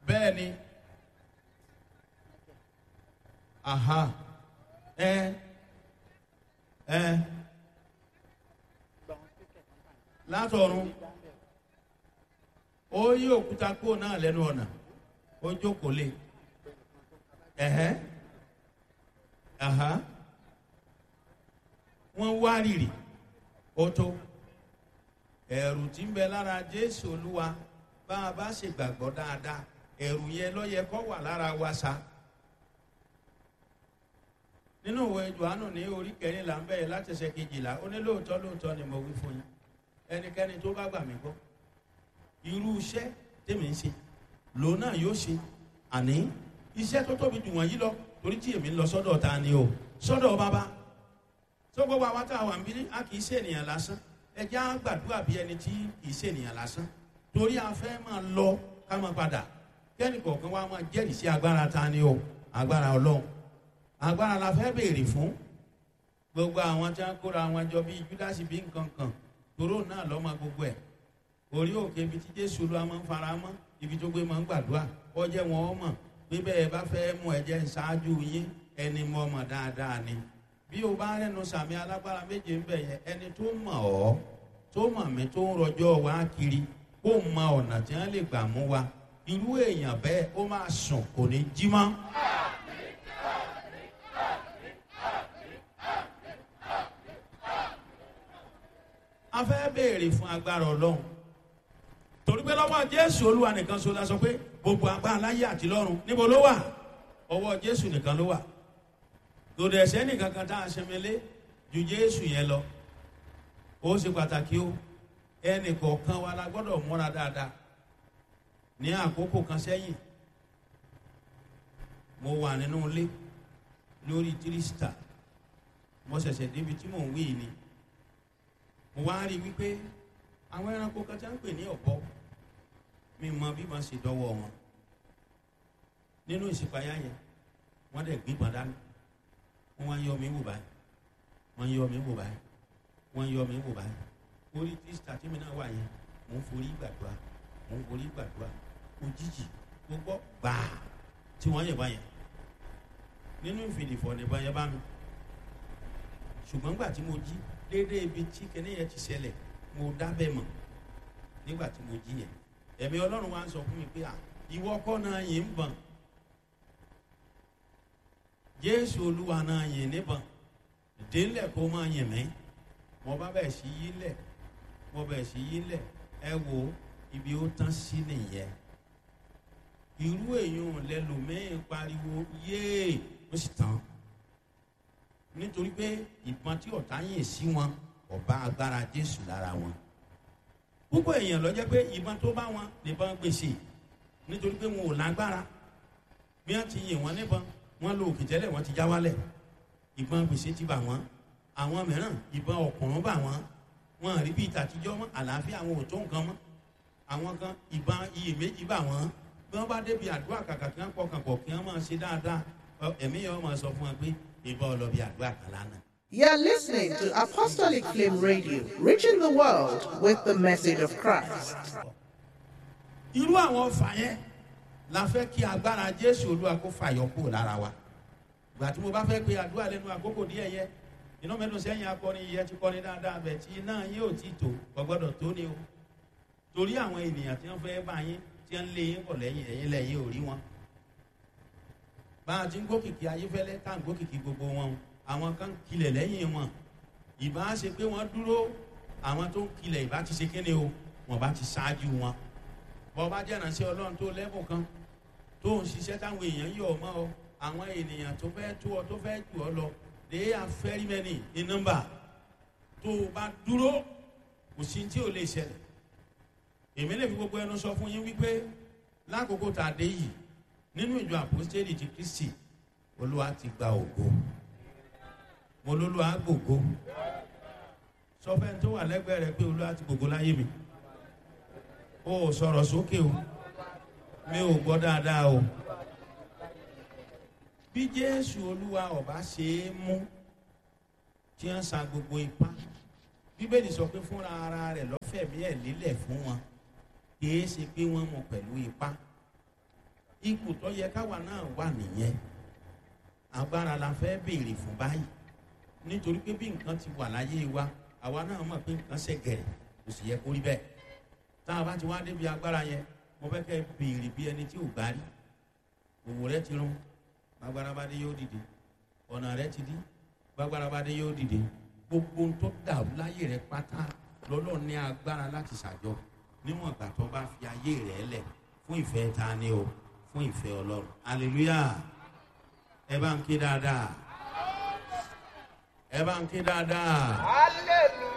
Bẹ́ẹ̀ ni. Ẹ ẹ látọ̀run. Ó yí òkúta kúrò náà lẹ́nu ọ̀nà, ó jókòó lé. Wọ́n wá rìrì, ó tó. Ẹ̀rù tí ń bẹ lára Jésù Olúwa, bá a bá ṣe gbàgbọ́ dáadáa, ẹ̀rù yẹn ló yẹ kó wà lára wa sa. Nínú ìwé Johannu ní orí 14 ń bẹ̀rẹ̀ láti ẹsẹ̀ 12, ó ní lóòótọ́ lóòótọ́ ni mo wí fún yín, ẹnikẹ́ni tó bá gbà mí gbọ́, irú iṣẹ́ tèmi ń ṣe lòun náà yóò ṣe, àní iṣẹ́ tó tóbi jù wọ̀nyí lọ, torí tí èmi ń lọ sọ́dọ̀ ta ni o, sọ́dọ̀ Bàbá. Tó gbogbo àwọn tá a wà ń bí, a kì í ṣe ènìyàn lásán. Ẹ jẹ́ á gbàdúrà bí ẹni tí kì í ṣe ènìyàn lásán, torí a fẹ́ máa lọ ká máa padà, kẹ́ni kọ̀ọ̀kan wa máa jẹ́rìí sí agbára ta ni o, agbára Ọlọ́run. Agbára la fẹ́ béèrè fún. Gbogbo àwọn tí wọ́n kóra wọn jọ bíi Júdásì bí nǹkan kan, toró náà lọ́mọ gbogbo ẹ̀. Orí òkè ibi tí Jésù Olúwa máa ń fara mọ́, ibi tó gbé máa ń gbàdúrà, ọjẹ́ wọn ọmọ pé bẹ́ẹ̀ bá fẹ́ mú ẹ̀jẹ̀ ṣáájú yín, ẹni mọ̀ ọmọ dáadáa ni. Bí o bá rẹnu sàmì alágbára méje ń bẹ̀ yẹn, ẹni tó mọ̀ ọ́, tó mọ̀ mí, tó ń rọjọ́ wa kiri, kó mọ ọ̀nà tí wọ́n lè gbà mú wa, irú èèyàn bẹ́ẹ̀ ó máa sùn, kò ní jí mọ́. A fẹ́ béèrè fún agbára Ọlọ́run, torí pé lọ́wọ́ Jésù Olúwa nìkan ṣoṣo la sọ pé gbogbo agbára láyé àti lọ́run, níbo ló wà? Ọwọ́ Jésù nìkan ló wà. Lòdì ẹ̀sẹ̀ nìkan kan tá a ṣẹmẹlé ju Jésù yẹn lọ. Ó ṣe pàtàkì o, ẹnì kọ̀ọ̀kan wa la gbọ́dọ̀ múra dáadáa. Ní àkókò kan sẹ́yìn, mo wà nínú ilé lórí tírísítà, mo ṣẹ̀ṣẹ̀ débi tí mò ń wí ni, mo wá rí i wípé àwọn ẹranko kan tí wọ́n ń pè ní ọ̀bọ, mi mọ bí wọ́n ṣe dọ́wọ́ wọn nínú ìṣípayá yẹn, wọ́n dẹ̀ gbígbọ́n dání, wọ́n wá ń yọ mí wò báyìí, wọ́n ń yọ mí wò báyìí, wọ́n ń yọ mí wò báyìí. Orí tírísítà tí mi náà wà yẹn, mò ń forí gbàdúrà, mò ń forí gbàdúrà. Òjijì mo gbọ́ gbàá tí wọ́n yẹ̀ báyẹn nínú ìfìdìfọ̀ nìbọn yẹn bá mi. Ṣùgbọ́n gbà tí mo jí déédéé ibi tí kinní yẹn ti ṣẹlẹ̀, mo dábẹ́ mọ̀. Nígbà tí mo jí yẹn, ẹ̀mí Ọlọ́run wa ń sọ fún mi pé, à, ìwọ kọ́ náà yìí ń bọ̀n, Jésù Olúwa náà yìn níbọn, délẹ̀ kó máa yìn mí. Mo bá bẹ̀ sí yí lẹ̀, mo bẹ̀ sí yí lẹ̀. Ẹ wo ibi ó tán sí nìyẹn. Irú èèyàn lẹlòmíín pariwo yéè, ó sì tán, nítorí pé ìbọn tí ọ̀tá yìn sí wọn ọba agbára Jésù lára wọn. Púpọ̀ èèyàn ló jẹ́ pé ìbọn tó bá wọn nìbọn gbèsè, nítorí pé wọn ò lágbára. Bí wọ́n ti yìn wọ́n níbọn, wọ́n lo òkè tẹ́lẹ̀, wọ́n ti já wálẹ̀, ìbọn gbèsè ti bà wọ́n. Àwọn mìíràn, ìbọn ọ̀kùnrin bà wọ́n, wọn rí bí ìtàtijọ́ mọ́, àlàáfíà àwọn ò tó nǹkan mọ́. Àwọn kan, ìbọn iyèméjì bà wọ́n. Bí wọ́n bá débi àdúrà, kàkà kí wọ́n pọkàn pọ̀ kí wọ́n máa ṣe dáadáa, ẹ̀mí yẹn wọ́n máa sọ fún wọn pé ìbọn ọlọ́bì àdúrà kan lánàá. You're listening to Apostolic Flame Radio, reaching the world with the message of Christ. Irú àwọn ọfà yẹn la fẹ́ kí agbára Jésù Olúwa kó fàyọ kúrò lára wa. Ìgbà tí mo bá fẹ́ pe àdúrà lẹ́nu àkókò díẹ̀ yẹ, iná mẹ́nu sẹ́yìn akọrin yẹ ti kọrin dáadáa bẹ̀ tí iná yín ò ti tò, kò gbọ́dọ̀ tó ni o, torí àwọn ènìyàn tí wọ́n fẹ́ bá yín, tí wọ́n lé yín bọ̀ lẹ́yìn ẹ̀yìn, lẹ́yìn ò rí wọn. Bá a ti ń gòkìkì Ayéfẹ́lẹ́ tá à ń gòkìkì gbogbo wọn, àwọn kan kilẹ̀ lẹ́yìn wọn. Ìbá ṣe pé wọ́n dúró, àwọn tó ń kilẹ̀ ìbá ti ṣe kéde o, wọ́n bá ti ṣáájú wọn. Bọ́ bá jẹ́ ìránṣẹ́ Ọlọ́run tó lẹ́bùn kan tó ń ṣiṣẹ́ táwọn èèyàn yọ̀ ọ́ mọ́ ọ, àwọn ènìyàn tó fẹ́ tó ọ, tó fẹ́ jù ọ lọ, they are very many in number. Tó o bá dúró, kò sí tí ò lè ṣẹlẹ̀. Èmi lè fi gbogbo ẹnu sọ fún yín wípé lákòókò tá a dé yìí nínú ìjọ Àpọ́stélì ti Kristi, Olúwa ti gba ògo. Mo lólúwa gbògo. Sọ fẹ́ni tó wà lẹ́gbẹ̀ẹ́ rẹ pé Olúwa ti gbògo láyé mi. O ò sọ̀rọ̀ sókè o, mi ò gbọ́ dáadáa o. Bí Jésù Olúwa ọba ṣe é mú tí wọ́n sa gbogbo ipá, Bíbélì sọ pé fúnra ara rẹ̀ lọ́fẹ̀ẹ́. fẹ̀mí ẹ̀ lélẹ̀ fún wọn, kìí ṣe pé wọ́n mú pẹ̀lú ipá. Ipò tó yẹ káwa náà wà nìyẹn. Agbára la fẹ́ béèrè fún báyìí, nítorí pé bí nǹkan ti wà láyé wa, àwa náà mọ̀ pé nǹkan ṣe gẹ̀rẹ̀, kò sì yẹ kó rí bẹ́ẹ̀. Tá a bá ti wá débi agbára yẹn, mo fẹ́ kẹ́ béèrè bí ẹni tí ò gbá rí. Òwò rẹ ti rún, gbàgbára bá dé, yóò dìde. Ọ̀nà rẹ ti dí, gbàgbára bá dé, yóò dìde. Gbogbo ohun tó dàrú láyé rẹ pátá lọ́lọ́ ní agbára láti ṣàjọ, níwọ̀n ìgbà tó bá fi ayé rẹ lẹ̀ fún ìfẹ́ ta ni o, fún ìfẹ́ Ọlọ́run. Hallelujah! Ẹ bá ń ké dáadáa, ẹ bá ń ké dáadáa. Hallelujah.